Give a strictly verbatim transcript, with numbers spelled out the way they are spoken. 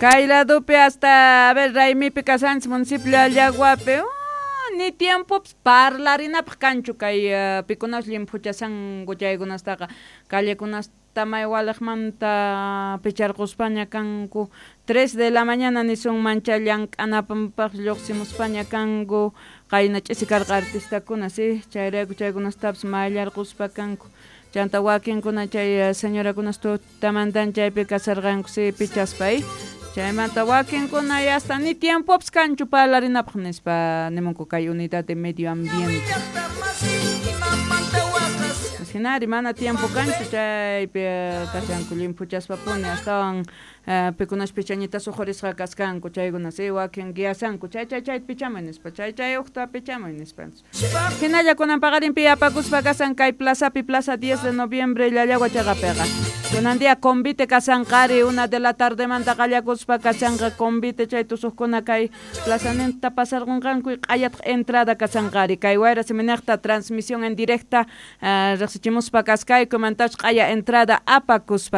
Kay ladopi hasta, a ver, raymipi kasanchis municipio Llallaguapi, uh, ni tiempopis parlarinapaq kanchu kay uh, pikunas llimphuchasanku chaykunastaqa callekunasta may waliqmanta picharquspaña kanku tres de la mañana nisunmancha llank'anapanpaq lluqsimuspaña kanku qayna ch'isi karqa artistakuna si chayrayku chaykunastapis mayllarquspa kanku chanta wakinkuna chay señorakunas tutamantan chaypi kasarqanku si pichaspa chaymanta wakinkuna hasta ni tiempopis kanchu parlarinapaq nispa nimunku kay unidad de medio ambiente hinari mana tiempo kanchu chaypi kashanku llimphuchaspapuni astawan pikunas pichañitas uqhurisqa kaskanku chaykuna si wakin guiasanku chay chay chay pichamuy nispa chay chay uqta pichamuy nispa hinalla kunan paqarinpi apakuspa kasan kay plazapi plaza diez de noviembre Llallagua chaqapiqa kunan día convite kasanqari una de la tardemanta qallakuspa kasanqa convite chay tusuqkuna kay plazaninta pasarqunqanku y q'ayataq entrada kasanqari kay wayra siminaqta transmisión en directa riqsichimuspa kaskayku mantach q'aya entrada apakuspa.